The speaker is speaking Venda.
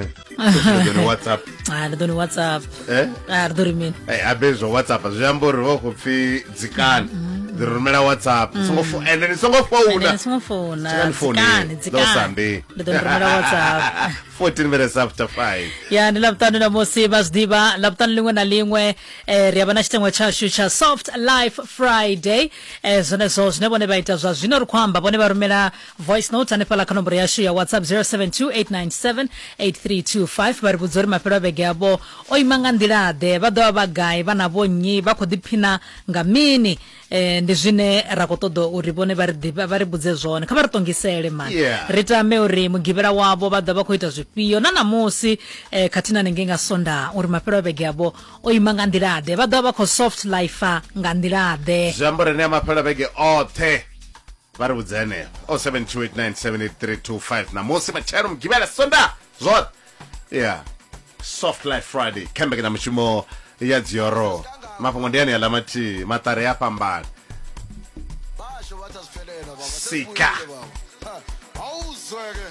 ne ḓo ni WhatsApp. Ah, ndi ḓo ni WhatsApp. Eh? Ah, ri ḓo ri mini? Eh, abe zwa WhatsApp zwi amba uri vha khou pfi dzikani. Ndi rumela WhatsApp. Songo fo ende ni songo founa. Ni songo founa. Dzikani founi. Dzikani, Ḓo dzikani. sambi. Ndi ḓo ni rumela WhatsApp. 14 minutes after 5. Ya, ndi Ḽavhuṱanu ṋamusi, vha zwi ḓivha Ḽavhuṱanu ḽiṅwe na ḽiṅwe eh, ri a vha na tshiteṅwa tshashu tsha Soft Life Friday. Eh, zwenezwo zwine vhone vha ita zwa zwino ri khou amba, vhone vha rumela voice note hanefhaḽa kha nomboro yashu ya WhatsApp 0728978325, vha ri vhudza uri mafhelo a vhege avho o ima nga nḓila-ḓe, vha ḓo vha vha gai, vha na vhonnyi, vha khou ḓiphina nga mini. Eh, ndi zwine ra khou ṱoḓa uri vhone vha ri ḓivha, vha ri vhudze zwone, kha vha ri ṱongisele mani. Ri tame uri mugivhela wavho vha ḓo vha khou ita zwifhio na ṋamusi, eh, khathihi na hanengei nga Sondaha, uri mafhelo a vhege avho o ima nga nḓila-ḓe, vha ḓo vha vha khou soft life nga nḓila-ḓe. Zwi amba uri enea mafhelo a vhege oṱhe vha ri vhudze henefho 0728978325 ṋamusi, matshelo, mugivhela, Sondaha, zwoṱhe. Yeah, Soft Life Friday kha mbekanyamushumo ya Dzioro. Mafhungo ndi aneaḽa mathihi, maṱari a fhambana. Basho bathi asiphelele baba. Sika. Sesibuyile baba. Awuzweke.